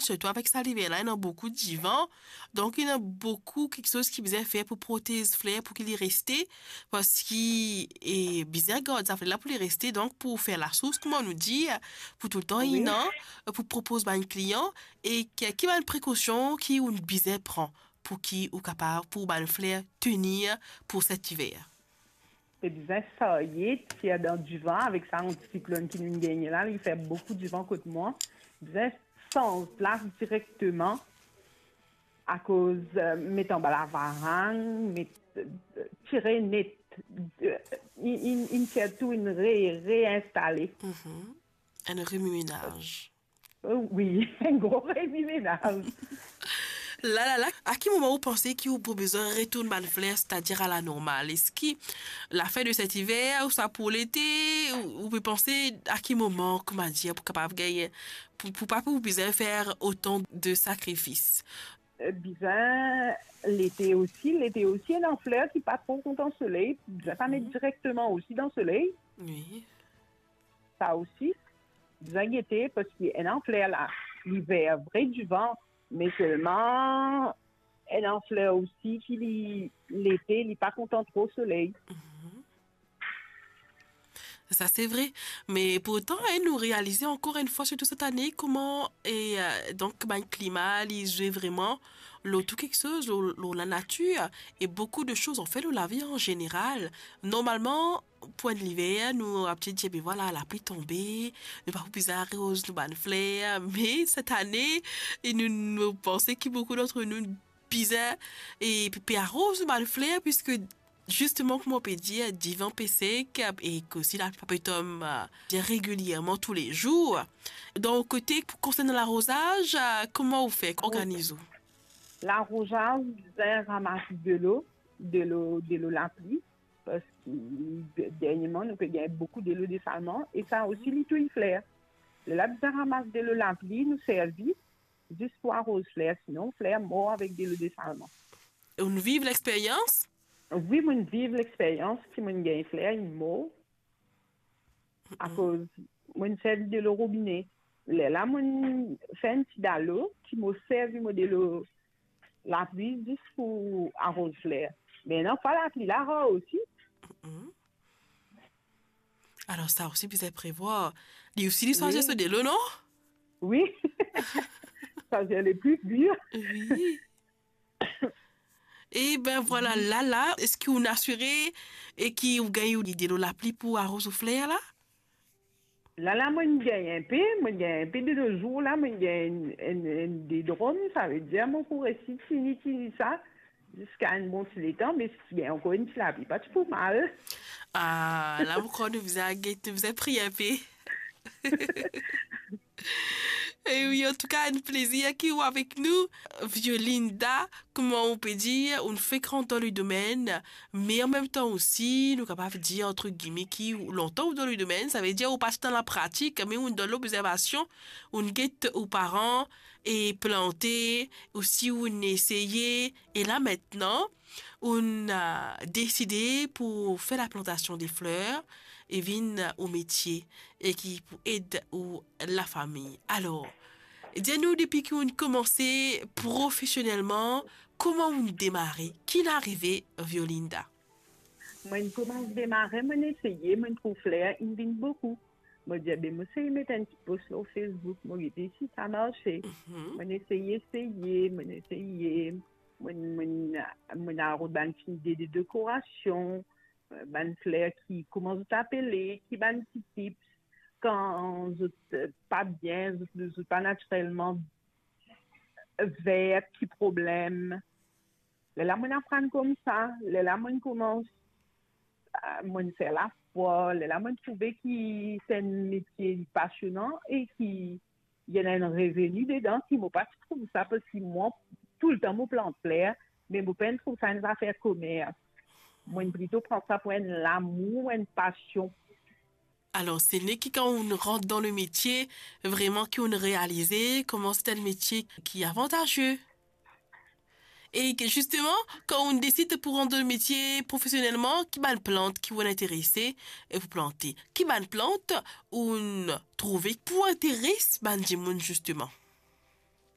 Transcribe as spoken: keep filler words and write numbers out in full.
Sirtou avek sa liver la, ena boukou divan. Donk, ena boukou kiksoz ki bizin fer pou protez fler, pou ki li reste. Parski, e, bizin gard sa fler la pou li reste. Donk, pou fer lasours, kouma nou dir, pou toultan ena, pou propoz bann klian, e ki, ki bann prekosion ki ou bizin pran pou ki ou kapav, pou bann fler tenir pou set iver? Pe bizin sarye, tir dan divan avek sa anti-siklonn ki nou gagne la, li fer boukou divan kot mwa. Bizin sanz plas direkteman, akoz, eh, met anba lavarang, met, eh, tire net, eh, inn, inn, inn tir tou, inn re-, reinstale. Mhm. Enn remwi-menaz. Eh, wi, enn gro remwi-menaz. La, la, la, a ki moman ou panse ki ou pou bizin retourn bann fler, setadir a la normal? Eski lafin de set iver, ouswa pou lete, ou, ou pe panse a ki moman, kouma dir, pou kapav gagn, pou, pou pa pou bizin fer otan de sakrifis? Eh, bizin lete osi, lete osi, ena fler ki pa tro kontan soley, bizin pa met direkteman osi dan soley. Wi. Sa osi, bizin gete, parski ena fler la, li ver vre divan, me selman ena fler osi ki li, lete, li pa kontan tro soley. Mhm. Sa, se vre. Me pourtan, hein, nou realize ankor enn fwa, sirtou set ane, kouma, e, eh, donk, bann klima, li zwe vreman lor tou kiksoz, lor, lor lanatir, e boukou de soz, anfet, lor lavi an zeneral. Normalman, pou enn liver, nou abitid dir, be vwala, lapli tonbe, nou pa pou bizin aroz nou bann fler, me set ane, e nou, nou panse ki boukou dant nou bizin, e pe, pe aroz nou bann fler, piske zisteman, kouma ou pe dir, divan pe sek, e ki osi lapli pa pe tonm, eh, bien regilierman toulezour. Dan ou kote, pou konsernan larozaz, eh, kouma ou fer, organiz ou? Larozaz, bizin ramas delo, delo, delo lapli, parski de-, derniereman, nou pe gagn boukou delo desalman, e sa osi, li touy fler. Lerla bizin ramas delo lapli, nou servi, zis pou aroz fler, sinon fler mor avek delo desalman. Ou viv lexperyans? Wi, mo viv lexperyans, ki mo gagn fler, inn mor, akoz mo servi delo robine. Lerla mo fer enn ti dalo, ki mo servi mo delo lapli zis pou aroz fler. Me ena fwa lapli la rar osi. Mm. Alor, sa osi bizin prevwar. Li osi, li swazir so delo, non? Wi. Swazir le pli pir. Wi. E ben vwala, la, la, eski ou asire e ki ou gagn ou delo lapli pou aroz ou fler la? La, la, mo gagn enpe, mo gagn enpe de nos jours la, mo gagn enn, enn, enn de drom, savedir mo pou resi tini, tini sa, ziska enn bon ti letan, me si ti gagn ankor enn ti lapli, pa ti pou mal. Ah, la, mo krwar nou bizin get, nou bizin priye enpe. E wi, antouka, enn plezir ki ou avek nou, Violinda, kouma ou pe dir, ou fek rant dan le domenn, me anmemtan osi, nou kapav dir, antre gime, ki ou lontan ou dan le domenn, savedir ou pa ti dan lapratik, me ou dan lobzervasion, ou get ou paran e plante, osi ou eseye, e la aster, ou, eh, deside pou fer laplantasion de fler, e vinn ou metie, e ki pou ed ou lafami. Alor, dir nou depi ki ou komanse profesionelman, kouma ou demare, ki arive, Violinda? Mo koumans demare, mo eseye, mo trouv fler inn vinn boukou. Mo dir, be, mo esey met enn ti post lor Facebook, mo gete si sa marse. Mhm. Mo eseye, eseye, mo eseye, mo, mo, mo al rod bann ti ide de dekorasion, bann fler ki, kouma zot apele, ki bann ti tips, kan zot, eh, pa bien, zot, zot pa natirelman ver, ki problem. Lerla mo aprann koumsa, lerla mo koumans, eh, mo fer lafwa, lerla mo trouve ki se enn metie pasionan e ki ena enn reveni dedan, ki mo pa ti trouv sa, parski mwa, toultan mo plant fler, me mo pa'nn trouv sa enn zafer komers. Mo plito pran sa pou enn lamour, enn pasion. Alor, se ne ki kan ou rant dan le metie, vreman ki ou realize kouma se enn metie ki avantaze. E ki, zisteman, kan ou desid pou rant dan le metie profesionelman, ki bann plant ki ou interese, e pou plante? Ki bann plant ou trouve pou interes bann dimoun, zisteman?